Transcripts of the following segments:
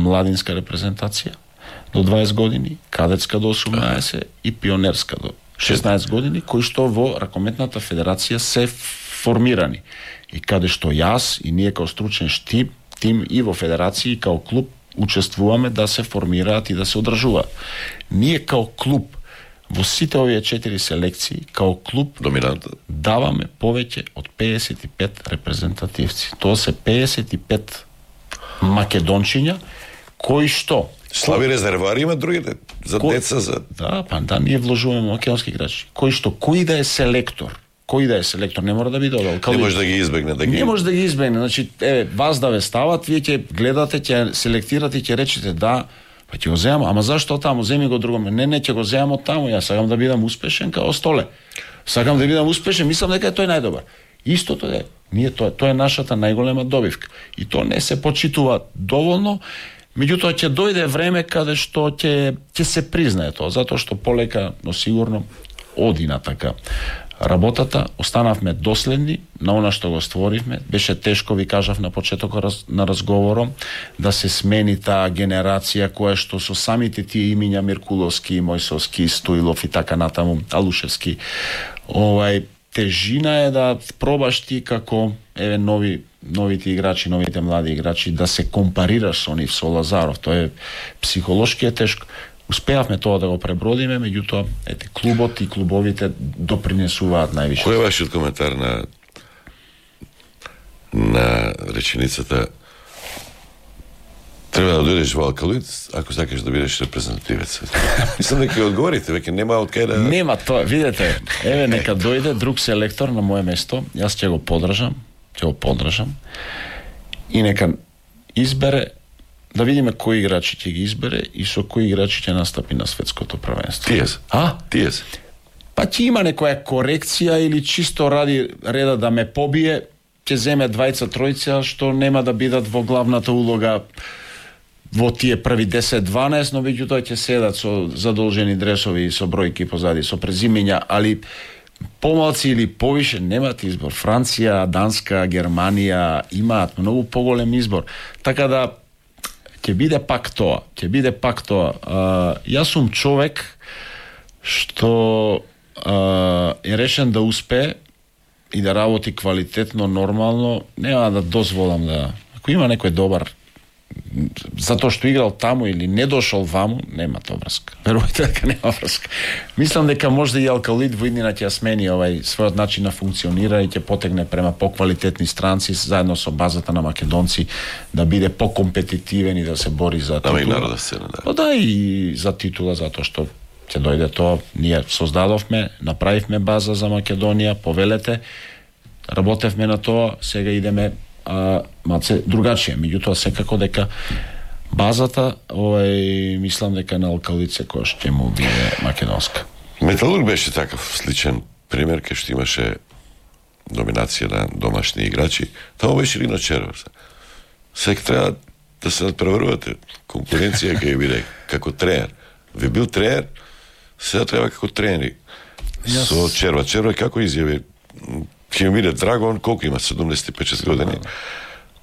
младинска репрезентација до 20 години, кадетска до 18 и пионерска до 16 години, кои што во Ракометната федерација се формирани. И каде што јас и ние као стручен тим и во федерација и као клуб учествуваме да се формираат и да се одржуваат. Ние као клуб во сите овие 4 селекции, као клуб даваме повеќе од 55 репрезентативци. Тоа се 55 македончиња кои што слаби резервари има другите за деца за ние вложуваме македонски играчи. Кој да е селектор не мора да биде од Алкалид. Не може да ги избегне, Не може да ги избегне. Значи, вас да ве стават, вие ќе гледате, ќе селектирате и ќе речете да, па ќе го земам, ама зашто таму, земи го другоме. Не, ќе го земам од таму, јас сакам да бидам успешен као Столе. Сакам да бидам успешен, мислам дека тој најдобар. Истото е, тоа е нашата најголема добивка. И тоа не се почитува доволно. Меѓутоа ќе дојде време каде што ќе се признае тоа, затоа што полека, но сигурно оди на така работата, останавме доследни на она што го створивме. Беше тешко, ви кажав на почетокот на разговором, да се смени таа генерација која што со самите тие имиња Миркуловски, Мојсовски, Стоилов и така натаму, Алушевски. Тежина е да пробаш ти како новите играчи, новите млади играчи да се компарираш со нив, со Лазаров. Тоа е психолошки е тешко. Успеавме тоа да го пребродиме, меѓутоа клубот и клубовите допринесуваат највише. Кој е вашиот коментар на реченицата треба да дојдеш во Алкалид ако сакаш да бидеш репрезентативец? Мислам дека ќе одговорите, веќе нема од кај да... Нема тоа, видете, нека дојде друг селектор на моје место, јас ќе го поддржам и нека избере, да видиме кои играчи ќе ги избере и со кои играчи ќе настапи на светското првенство. Тие се. Па ќе има некоја корекција или чисто ради реда да ме побие, ќе земе двајца-тројца што нема да бидат во главната улога во тие први 10-12, но меѓутоа ќе седат со задолжени дресови и со бројки позади, со презимења, али помалци или повише немаат избор. Франција, Данска, Германија имаат многу поголем избор. Така да ќе биде пак тоа. Јас сум човек што е решен да успее и да работи квалитетно, нормално. Нема да дозволам да... Ако има некој добар, затоа што играл таму или не дошол ваму, нема тоа врска. Верувајте дека нема врска. Мислам дека може да и Алкалид во иднина ќе смени својот начин на функционира и ќе потегне према поквалитетни странци заедно со базата на македонци да биде покомпетитивен и да се бори за титула. И народна сцена, да. Да, и за титула, затоа што ќе дојде тоа. Ние создадовме, направивме база за Македонија, повелете, работевме на тоа, сега идеме малце другачија, меѓутоа секако дека базата, мислам дека на Алкалид кој ќе му биде македонска. Металург беше таков сличен пример, кај што имаше доминација на домашни играчи. Тоа беше Лино Черов. Сега треба да се надпреварувате. Конкуренција ќе биде како тренер. Ви бил тренер, сега треба како тренери. Со Черва. Черва како изјави? Ќе ми биде драго, он колку има, 75 години.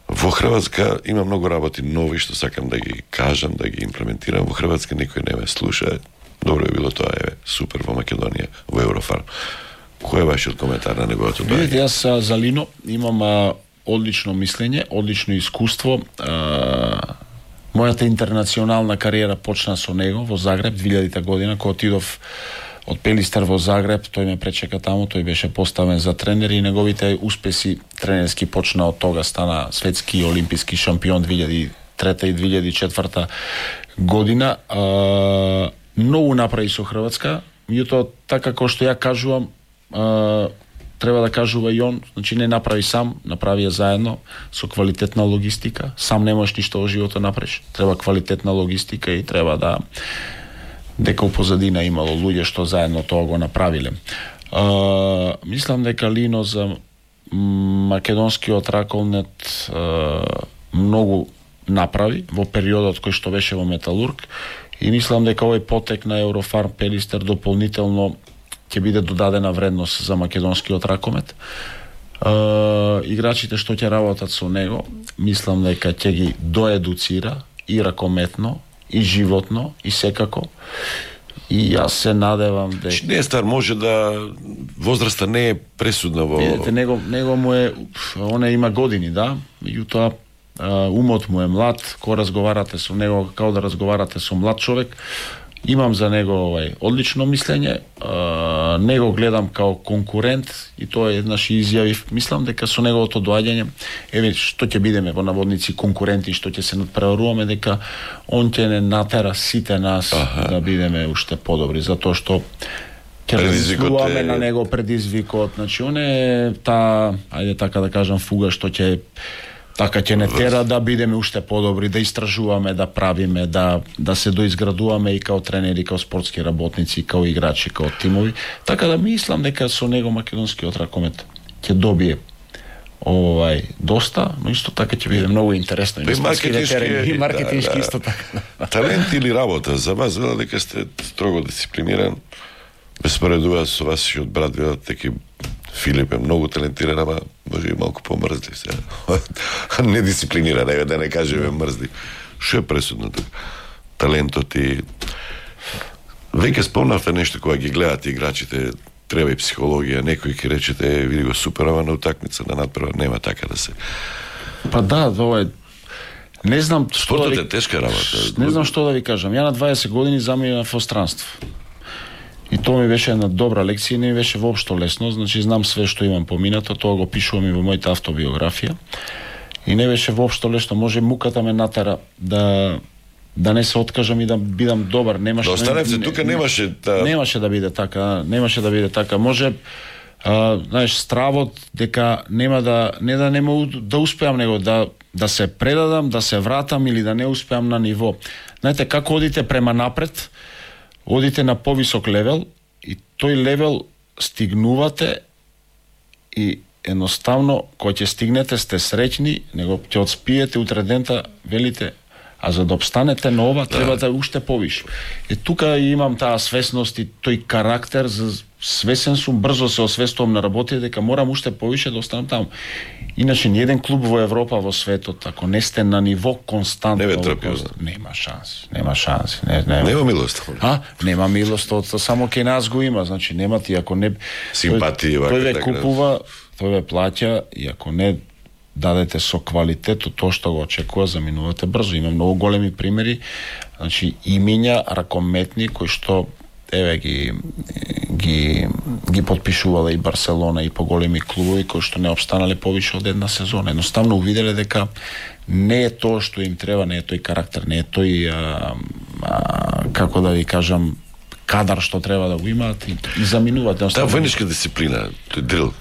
Во Хрватска има многу работи нови што сакам да ги кажам, да ги имплементирам. Во Хрватска никој не ме слуша. Добро е било тоа, супер во Македонија, во Еврофарм. Кој е вашиот коментар на неговото доаѓање? Видите, јас за Лино имам одлично мислење, одлично искуство. Мојата интернационална кариера почна со него во Загреб 2000 година, кога отидов од Пелистер во Загреб, тој ме пречека таму, тој беше поставен за тренер и неговите успеси тренерски почна од тога, стана светски и олимписки шампион 2003 и 2004 година. Многу направи со Хрватска, меѓутоа така како што ја кажувам, треба да кажува и он, значи не направи сам, направи ја заедно со квалитетна логистика. Сам не можеш ништо во животот направиш. Треба квалитетна логистика и треба да дека у позадина имало луѓе што заедно тоа го направиле. Мислам дека Лино за македонскиот раколнет многу направи во периодот кој што беше во Металург и мислам дека овој потек на Еврофарм Пелистер дополнително ќе биде додадена вредност за македонскиот ракомет. Играчите што ќе работат со него, мислам дека ќе ги доедуцира и ракометно, и животно, и секако. И јас се надевам дека не е стар, може да возраста не е пресудна во... Видете, него му е, оне има години, да, меѓутоа умот му е млад, кога разговарате со него, како да разговарате со млад човек. Имам за него одлично мислење, него гледам као конкурент и тоа еднаш изјавив, мислам дека со неговото доаѓање, што ќе бидеме во наводници конкуренти, што ќе се надпреваруваме, дека он ќе не натера сите нас да бидеме уште подобри, затоа што ќе предизвикуваме на него предизвикот, значи он е ајде така да кажам, фуга што ќе не тера да бидеме уште подобри, да истражуваме, да правиме, да се доизградуваме и као тренери, као спортски работници, као играчи, као тимови. Така да мислам дека со него македонскиот ракомет ќе добие доста, но исто така ќе биде многу интересно и маркетиншки исто така. Талент или работа за вас, за дека сте строго дисциплиниран, без споредува со вашиот брат, дека Филип е многу талентиран, ама може и малку помрзли се. Недисциплиниран, да не кажеме мрзли. Што е пресудно тука? Талентот и... Веќе спомнавте нешто кога ги гледате играчите, треба и психологија, некој ќе речете, види го супер, ама на утакмица на надпрва нема така да се... Па да, ова е... Не знам што Спортот е тешка работа. Не знам што да ви кажам. Ја на 20 години заминав во странство. И тоа ми беше една добра лекција и не ми беше воопшто лесно, значи знам све што имам поминато, тоа го пишувам и во мојата автобиографија. И не беше воопшто лесно, може муката ме натера да не се откажам и да бидам добар, немаше. Да останевте тука, немаше да биде така, немаше да биде така. Може знаеш, стравот дека нема да успеам него да се предадам, да се вратам или да не успеам на ниво. Знаете, како одите према напред, одите на повисок левел и тој левел стигнувате и едноставно кога ќе стигнете сте среќни, него ќе одспиете утре дента, велите, а за да обстанете на ова треба да уште повише. И тука имам таа свесност и тој карактер, свесен сум, брзо се освестувам на работите дека морам уште повише да останам таму. Иначе ни еден клуб во Европа, во светот, ако не сте на ниво константно, нема шанс. Нема милост. Нема милост, само кај нас го има, значи нема ти, ако не симпатија, тој ве купува, тој ве плаќа и ако не дадете со квалитетот тоа што го очекува, заминувате брзо. Има многу големи примери, значи имиња ракометни кои што ги подпишувале и Барселона и поголеми клубови кои што не обстанале повише од една сезона. Едноставно увиделе дека не е тоа што им треба, не е тој карактер, не е тој како да ви кажам кадар што треба да го имаат и заминуваат. Таа војничка дисциплина, тој дрил.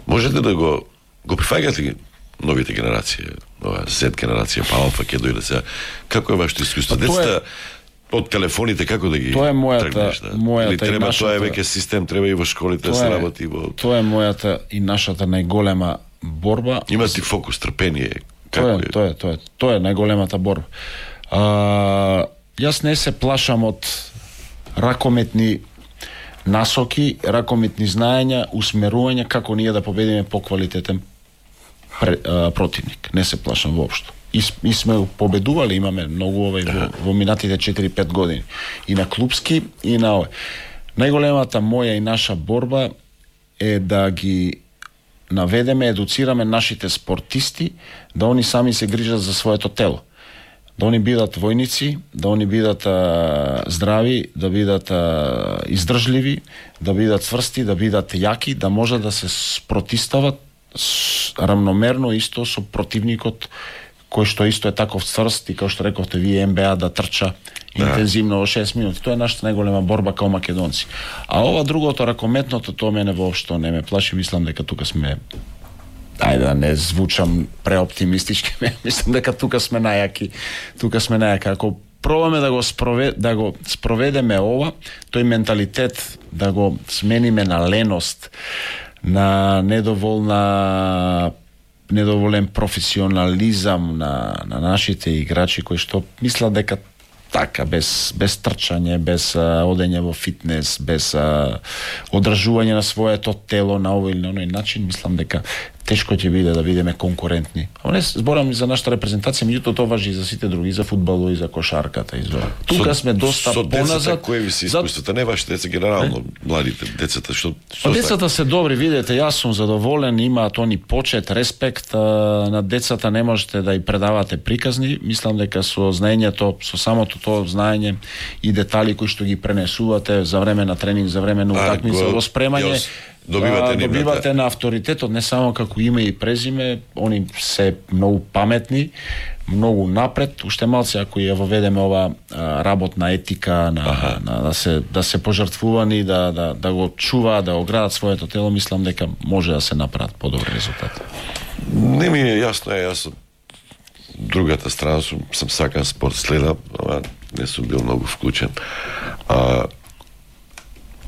Можете да го прифаќате новите генерации, нова Z генерација, па Алфа ќе дојде сега. Како е вашето искуство? Децата од телефоните како да ги тргнеш? Или треба тоа е веќе систем, треба и во школите да се работи во... Тоа е мојата и нашата најголема борба. Има ти фокус, трпение. Тоа е најголемата борба. Јас не се плашам од ракометни насоки, ракометни знаења, усмерувања како ние да победиме поквалитетен противник. Не се плашам воопшто. И сме победували, имаме многу во минатите 4-5 години. И на клубски, и на овој. Најголемата моја и наша борба е да ги наведеме, едуцираме нашите спортисти, да они сами се грижат за своето тело. Да они бидат војници, да они бидат здрави, да бидат издржливи, да бидат цврсти, да бидат јаки, да може да се спротистават равномерно исто со противникот кој што исто е таков цврст и како што рековте вие НБА да трча интензивно во 6 минути. Тоа е нашата најголема борба као македонци. А ова другото, ракометното, тоа мене воопшто не ме плаши, мислам дека тука сме, ајде да не звучам преоптимистички, мислам дека тука сме најаки. Ако пробаме да го спроведеме ова, тој менталитет да го смениме на леност, на недоволен професионализам на нашите играчи кои што мислат дека така без трчање, без одење во фитнес, без одржување на своето тело на овој или на оној начин, мислам дека тешко ќе биде да бидеме конкурентни. А не зборам за нашата репрезентација, меѓутоа тоа важи и за сите други, и за фудбалот, и за кошарката, и за... Тука сме доста поназад. Со децата кои ви се искуствата, не вашите деца, генерално, младите децата, што децата се добри, видете, јас сум задоволен, имаат они почет, респект, на децата не можете да и предавате приказни, мислам дека со знаењето, со самото тоа знаење и детали кои што ги пренесувате за време на тренинг, за време на утакмица, во спремање, добивате на авторитетот, не само како име и презиме, они се многу паметни, многу напред, уште малце ако ја воведеме ова работна етика да се пожртвувани, да го чуваат, да го градат своето тело, мислам дека може да се направат подобри резултати. Не ми е јасно, јас од другата страна сум сакан спорт, следам, ама не сум бил многу вклучен.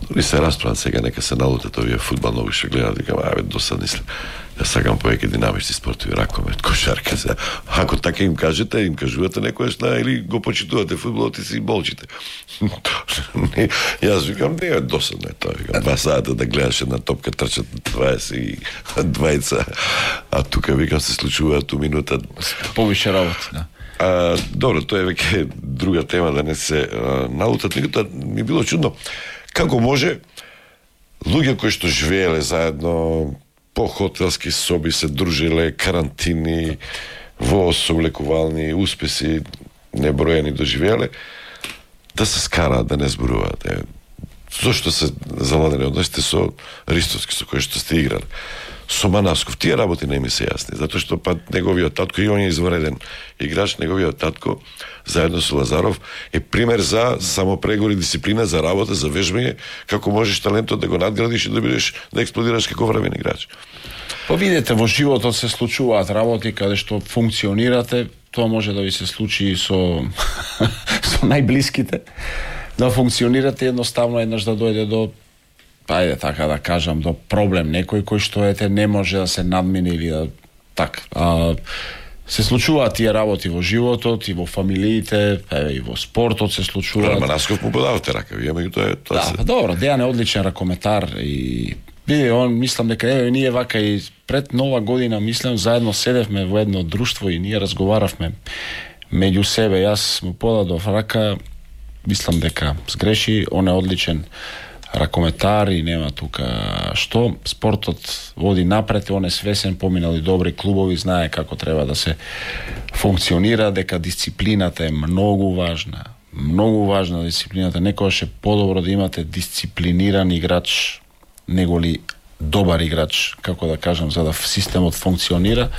Дори се расправам сега, нека се налутат овие фудбал, многу ще гледат, викам, досадни след. Јас сакам повеќе динамични спортови, ракомет, кошарка се. Ако така им кажете, им кажувате некојаш или го почитувате фудбалот и си болчите. Јас викам, не е досадно тоа, викам, 2 сата да гледаш една топка, трчат 22, а тука викам се случуваат у минута. Повише работа, да. Добро, тоа е веќе друга тема, да не се налутат, меѓутоа ми било чудно. Како може луѓе кои што живееле заедно по хотелски соби, се дружиле, карантини, во сооблекувални успеси неброени доживееле, да се скараат, да не зборуваат. Зошто се заладени односите со Ристовски, со кој што сте играли? Со Манавсков, тие работи не ми се јасни, затоа што неговиот татко, и он е извареден играч, неговиот татко, заедно со Лазаров, е пример за самопрегор и дисциплина, за работа, за вежбање, како можеш талентот да го надградиш и да бидеш, да експлодираш како врвен играч. Видете, во животот се случуваат работи каде што функционирате, тоа може да ви се случи и со најблиските, да функционирате едноставно еднаш да дојде до така да кажам, до проблем, некој кој што не може да се надмине или да така. Се случуваат тие работи во животот и во фамилиите, и во спортот се случуваат. Манасков му подавате рака, вие меѓутоа тоа се. Добро, Дејан е одличен ракометар и види, он мислам дека ние вака и пред Нова година мислам заедно седевме во едно друштво и ние разговаравме меѓу себе. Јас му подадов рака, мислам дека сгреши, он е одличен ракометар и нема тука што. Спортот води напред, он е свесен, поминали добри клубови, знае како треба да се функционира, дека дисциплината е многу важна дисциплината. Некогаш е подобро да имате дисциплиниран играч него ли добар играч, како да кажам, за да системот функционира.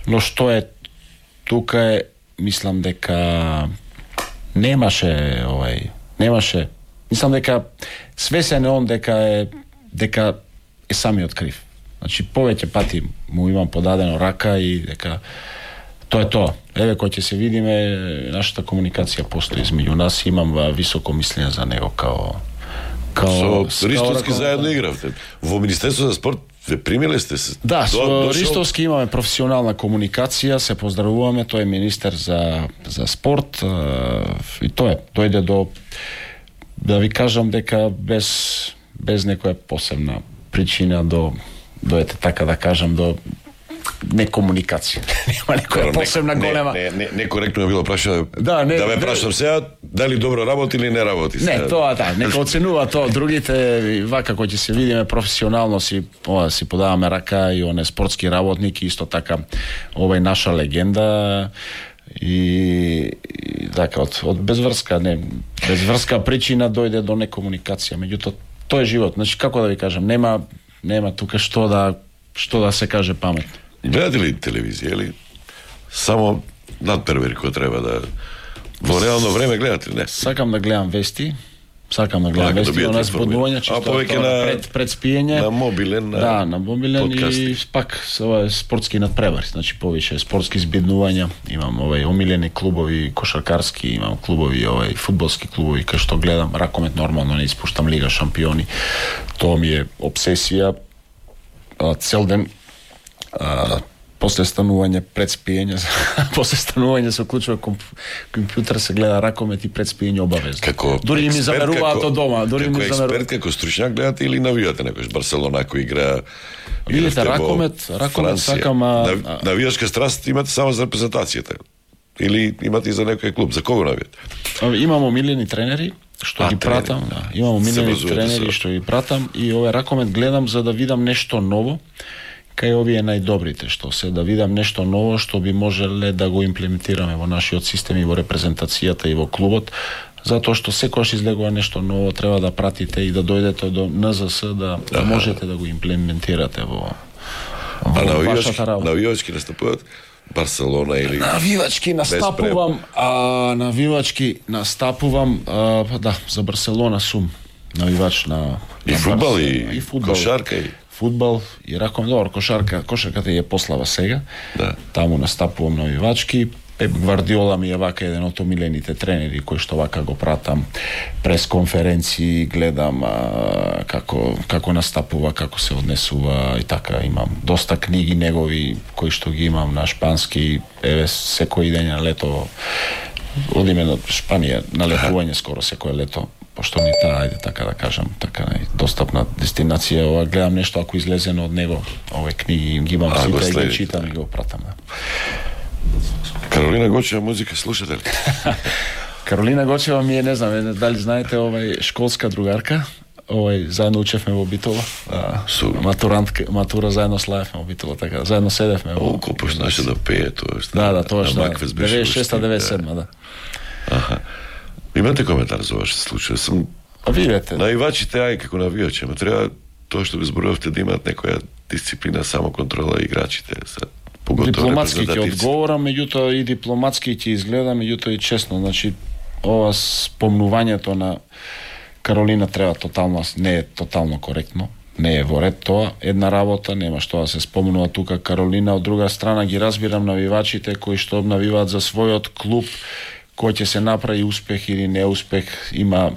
Но што е тука е, мислам дека немаше, мислам дека свесен е он дека е самиот крив. Значи повеќе пати му имам подадено рака и дека тоа е тоа. Еве кој ќе се видиме, нашата комуникација постои измеѓу нас, имам високо мислење за него као со Ристовски заедно игравте. Во Министерството за спорт ве примиле сте се? Да, со Ристовски имаме професионална комуникација, се поздравуваме, тој е министер за спорт и тоа е, дојде до, да ви кажам дека без некоја посебна причина дојде така да кажам до некомуникација. Нема некоја посебна голема. Некоректно било прашано. Да ме прашам сега дали добро работи или не работи. Не, тоа нека оценува тоа. Другите вака кои ќе се видиме професионално си подаваме рака и он е спортски работник и исто така ова е наша легенда и така од безврска причина дојде до некомуникација. Меѓутоа тоа е живот. Значи како да ви кажам, нема тука што да се каже паметно. Гледате ли телевизија или само надпервери кој треба да во реално време гледате? Не. Сакам да гледам вести. Она збудување чисто пред спиење. На мобилен, на мобилен подкасти. И пак спортски надпревари, значи повише спортски збиднувања. Имам омилени клубови кошаркарски, имам клубови фудбалски клубови кај што гледам. Ракомет нормално не испуштам Лига шампиони. Тоа ми е обсесија. Цел ден после станување пред спиење, после станување се уклучува компјутер, се гледа ракомет и пред спиење обавезно. Дури и ми замеруваат од дома, дури ми замеруваат. Како експерт, како стручњак гледате или навивате некојаш Барселона кој игра? Видите, ракомет сакам. Навијачка страст имате само за репрезентацијата или имате и за некој клуб? За кого навијате? Имам омилени тренери што ги пратам, имам омилени тренери што ги пратам и овој ракомет гледам за да видам нешто ново. Кај овие најдобрите што се, да видам нешто ново што би можеле да го имплементираме во нашиот систем и во репрезентацијата и во клубот, затоа што секогаш излегува нешто ново, треба да пратите и да дојдете до НЗС да можете да го имплементирате во вашата работа. Навивачки настапуваат Барселона или навивачки настапувам, да, за Барселона сум навивач на и фудбал и кошарка и фудбал и ракомет. Добро, кошарката е послава сега. Да. Таму настапувам навивачки. Пеп Гвардиола ми е вака еден од омилените тренери кој што вака го пратам прес конференции, гледам како настапува, како се однесува и така. Имам доста книги негови кои што ги имам на шпански. Еве секој ден на лето одиме на Шпанија на летување скоро секој лето. Пошто ни таа, ајде така да кажам, така достапна дестинација, ова гледам нешто ако излезено од него, овие книги ги имам сите и ги читам и го пратам. Каролина Гочева музика слушате ли? Каролина Гочева ми е, не знам, дали знаете, школска другарка, заедно учевме во Битола, матура заедно славевме во Битола, така, заедно седевме во... Колку почнаше да пее тоа? Да, тоа што 96-97, да. Аха. Имате коментар за вашите случаи? Видете. Навивачите, како навивачи, ама треба тоа што го зборувавте да имаат некоја дисциплина, самоконтрола играчите. Дипломатски ќе одговорам, меѓутоа и дипломатски ќе изгледа, меѓутоа и честно. Значи, ова спомнувањето на Каролина треба тотално, не е тотално коректно, не е во ред тоа. Една работа, нема што да се спомнува тука Каролина, од друга страна ги разбирам навивачите кои што навиваат за својот клуб, кој ќе се направи успех или неуспех, има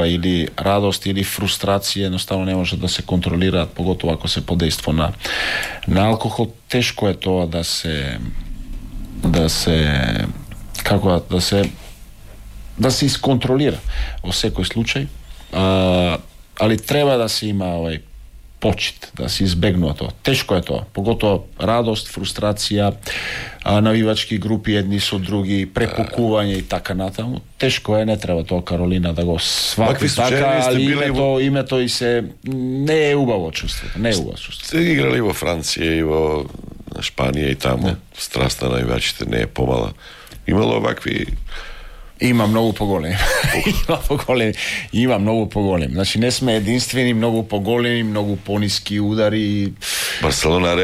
или радост или фрустрација, едноставно не може да се контролираат, поготово ако се подејство на алкохол. Тешко е тоа да се исконтролира во секој случај, али треба да се има почит, да се избегнува тоа. Тешко е тоа, поготово радост, фрустрација, навивачки групи едни со други, препукување и така натаму. Тешко е, не треба тоа Каролина да го свати така, али името и се не е убаво чувството, не е убаво чувството. Сте играли во Франција и во Шпанија и таму, страста на навивачите не е помала. Имало вакви... Има многу поголеми. Има многу поголеми. Значи не сме единствени, многу поголеми, многу пониски удари. Барселона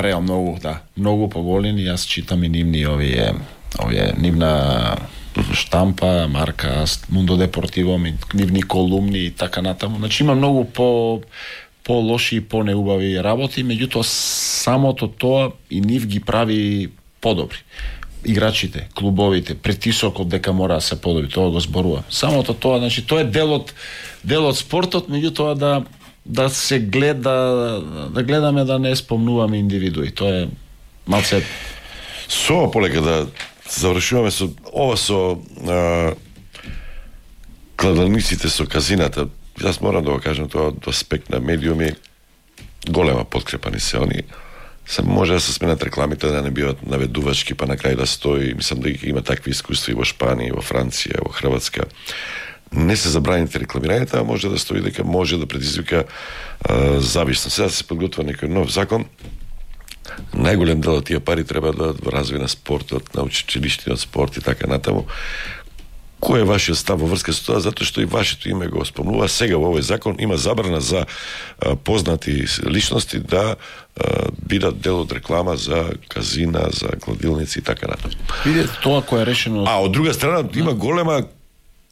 Реал многу, да. Многу поголеми, јас читам и нивни овие нивна штампа, марка Mundo Deportivo, нивни колумни и така натаму. Значи има многу по-лоши и по-неубави работи, меѓутоа самото тоа и нив ги прави подобри. Играчите, клубовите, притисокот дека мора да се подобри, тоа го зборува. Самото тоа, значи тоа е дел од спортот, меѓутоа да се гледа, да гледаме да не спомнуваме индивидуи. Тоа е малце со полека да завршуваме со ова со кладалниците со казината. Јас морам да го кажам тоа од аспект на медиуми, голема подкрепа ни се они. Се може да се сменат рекламите, да не биват наведувачки, па на крај да стои. Мислам да има такви искуства и во Шпанија, во Франција, во Хрватска. Не се забраните рекламирањето, а може да стои дека може да предизвика зависност. Сега се подготвува некој нов закон. Најголем дел од тие пари треба да развие на спортот, на училиштиот спорт и така натаму. Кој е вашиот став во врска со тоа? Затоа што и вашето име го спомнува. Сега во овој закон има забрана за познати личности да бидат дел од реклама за казина, за кладилници и така натаму. Видете тоа кој е решено. А од друга страна има голема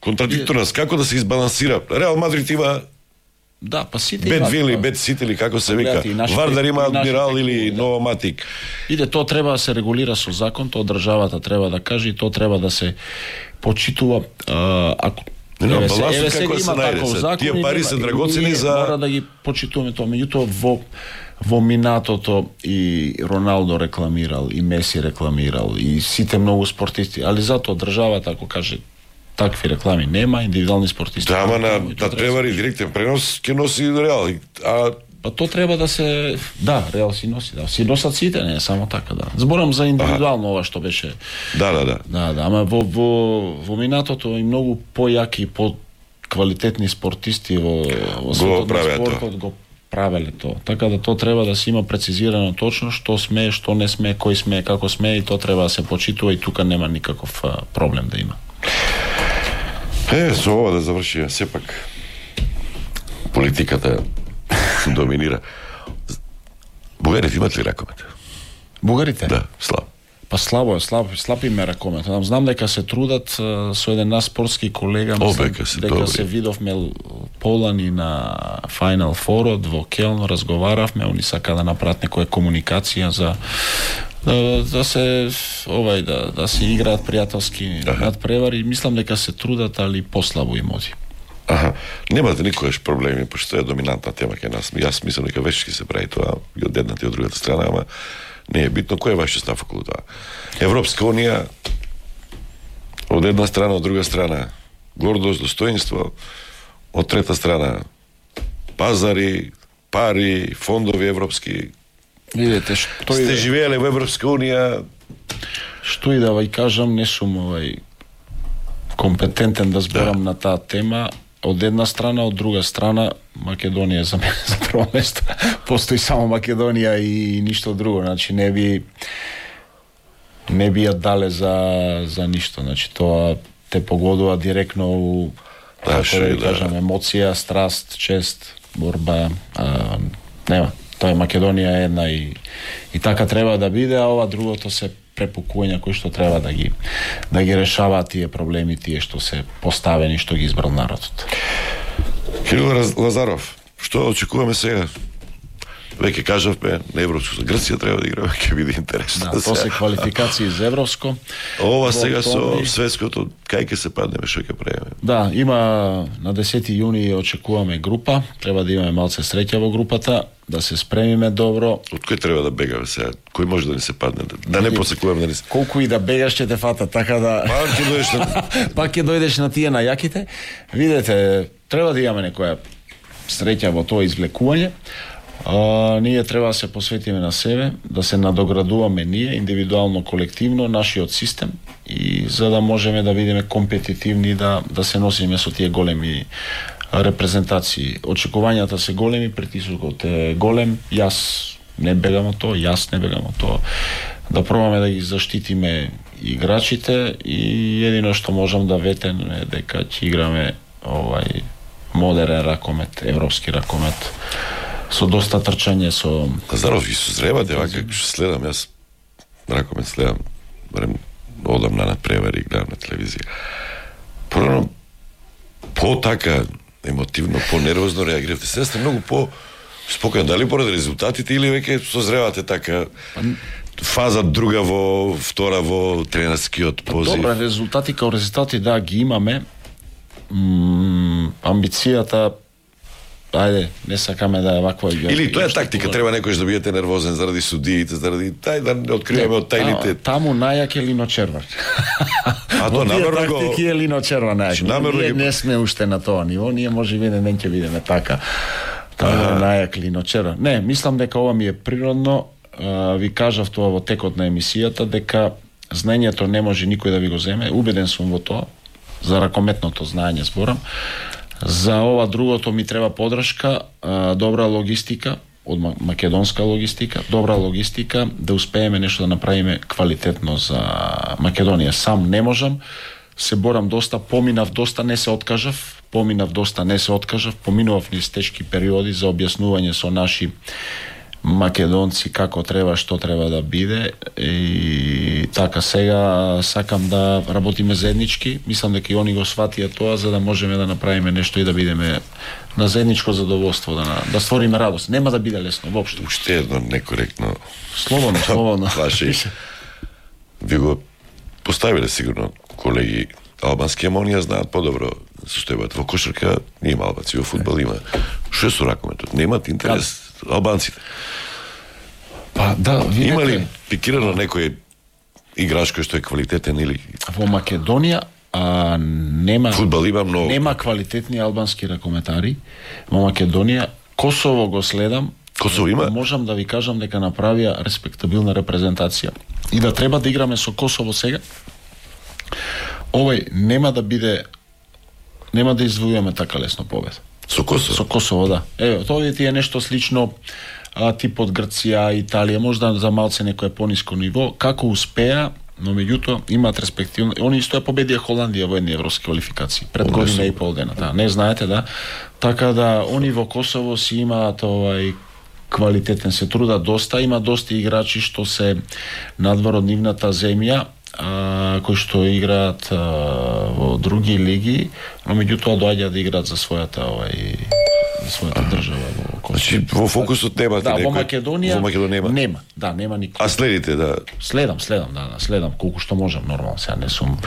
контрадикторност како да се избалансира. Реал Мадрид има па сите Бет Вили, Бет Сити или како се вика. Вардар има Адмирал или Новоматик. Тоа треба да се регулира со закон, тоа државата треба да каже и тоа треба да се почитува. Ако балансот како се најде. Тие пари се драгоцени за мора да ги почитуваме тоа, меѓутоа во во минатото и Роналдо рекламирал, и Меси рекламирал, и сите многу спортисти, али затоа државата, ако каже такви реклами нема, индивидуални спортисти. Да, ама на превари директен пренос ќе носи Реал, а па то треба да се, да, Реал си носи, да, си носат сите, не само така, да. Зборам за индивидуално ова што беше. Да, ама во минатото и многу појаки и по-квалитетни спортисти во светот на спортот го правеле тоа. Така да тоа треба да се има прецизирано точно што смее, што не смее, кој смее, како смее, и тоа треба да се почитува, и тука нема никаков проблем да има. Со ова да завршиме, сепак политиката доминира. Бугарите имат ли ракомет? Бугарите? Да, слаб. Па слаб им е ракомет. Знам дека се трудат со еден наш спортски колега, дека се видовме полани на Final Four во Келн, разговаравме, они сака да направат некоја комуникација за да се да се играат пријателски надпревари. Мислам дека се трудат, али послабо им оди. Немате никојаш проблеми, пошто е доминантна тема кај нас. Јас мислам дека веќе ќе се прави тоа и од едната и од другата страна, ама не е битно. Кој е вашиот став околу тоа? Европска унија од една страна, од друга страна гордост, достоинство, од трета страна пазари, пари, фондови европски. Видете, што сте живееле во Европска унија. Што и да ви кажам, не сум компетентен да зборам на таа тема. Од една страна, од друга страна, Македонија за мене за прво место. Постои само Македонија и ништо друго. Значи не би ја дале за ништо. Значи тоа те погодува директно у кажам емоција, страст, чест, борба. Нема. Тоа е Македонија една и така треба да биде, а ова другото се препукувања кои што треба да ги решаваат тие проблеми, тие што се поставени, што ги избрал народот. Кирил Лазаров, што очекуваме сега? Веќе кажавме, на Европско за Грција треба да играме, ќе биде интересно. Да, после квалификации за Европско. Ова сега со светското, кај ќе се паднеме, што ќе правиме? Да, има на 10 јуни очекуваме група, треба да имаме малце среќа во групата, да се спремиме добро. Од кој треба да бегаме сега? Кој може да ни се падне? Да не посекуваме да ни се... Колку и да бегаш ќе те фата, така да... Пак ќе дојдеш на тие најаките. Видете, треба да имаме некоја среќа во тоа извлекување. Ние треба да се посветиме на себе, да се надоградуваме ние, индивидуално, колективно, нашиот систем, и за да можеме да бидеме компетитивни, да се носиме со тие големи репрезентации. Очекувањата се големи, притисокот е голем, јас не бегам од тоа, да пробаме да ги заштитиме играчите, и едино што можам да ветем е дека ќе играме модерен ракомет, европски ракомет, со доста трчање, со... Лазаров, ги созрева девака, што следам, јас ракомет следам, барем одам на надпревари, гледам на телевизија. Порано, по-така емотивно, по-нервозно реагиравте. Сега сте многу по-спокоен. Дали поради резултатите или веќе созревате така фаза друга втора во тренерскиот позив? Добра, резултати као резултати, да, ги имаме. Амбицијата, ајде, не сакаме да е ваква... Или тоа е тактика, треба некојаш да бидете нервозен заради судиите, заради да откриваме од тајните... Таму најак е Лино Червар. А тоа намерно го... Тактики е Лино Червар најак. Ние не сме уште на тоа ниво, ние може би не ќе бидеме така. Таму е најак Лино Червар. Не, мислам дека ова ми е природно. Ви кажав тоа во текот на емисијата, дека знаењето не може никој да ви го земе. Убеден сум во тоа. За ракометното знаење зборам. За ова другото ми треба подршка, добра логистика, од македонска логистика, добра логистика, да успееме нешто да направиме квалитетно за Македонија. Сам не можам, се борам доста, поминав доста, не се откажав, поминував низ тешки периоди за објаснување со наши македонци како треба, што треба да биде, и така сега сакам да работиме заеднички. Мислам дека и они го сватија тоа, за да можеме да направиме нешто и да бидеме на заедничко задоволство, да створиме радост. Нема да биде лесно воопшто. Уште едно некоректно. Слободно. Ви го поставиле сигурно колеги албански, ама оние знаат подобро состојбата. Во кошарка не има албанци, во фудбал има. Што е со ракометот? Немат интерес албанците. Па да, видите. Има ли пикирано некој играч кој што е квалитетен или во Македонија нема фудбал има многу. Нема квалитетни албански ракометари во Македонија. Косово го следам. Косово има? Можам да ви кажам дека направија респектабилна репрезентација и да треба да играме со Косово сега. Овој нема да извојуваме така лесно победа. Со Косово? Со Косово, да. Еве, тоа ти е нешто слично тип од Грција, Италија, можда за малце некое пониско ниво. Како успеа, но меѓутоа имаат респективно. Они исто ја победија Холандија во едни европски квалификации пред година и пол дена, да. Не знаете, да. Така да они во Косово си имаат квалитетен, се трудат доста, има доста играчи што се надвор од нивната земја, кои што играат во други лиги, но меѓутоа доаѓаат да играат за својата држава во Косово. Значи во фокусот немате некој. некој. Во Македонија нема. Да, нема никој. А следите, да. Следам, следам колку што можам, нормално, сега не сум.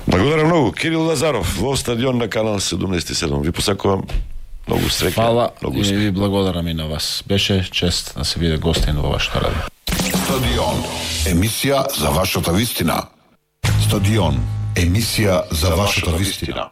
Благодарам многу. Кирил Лазаров во стадион на Канал 77. Ви посакувам многу среќа. Фала многу и ви благодарам и на вас. Беше чест да се биде гостин во вашата радио. Стадион, емисија за вашата вистина. Стадион, емисија за вашата вистина.